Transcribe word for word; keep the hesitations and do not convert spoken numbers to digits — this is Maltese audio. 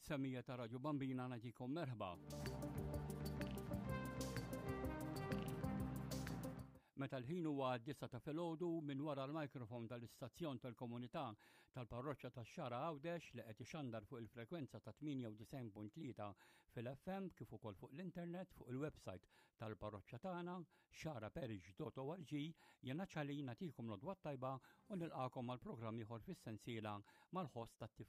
Semija ta' Radju Bambina nagħtikom merħba. Meta l-ħin huwa disa ta' filgħodu minn wara l-mikrofon tal-istazzjon tal-komunità tal-parroċċa tax-Xagħra Għawdex li qed ixandar fuq il-frekwenza ta' tmienja u disgħin punt tlieta fil-F M kif ukoll fuq l-internet fuq il-website tal-parroċċa tagħna xaraparish dot org, jiena Ċali nagħtikom l-għodwa t-tajba u nilqakom għal programm ieħor fis-sensiela mal-ħoss tat-tifkira.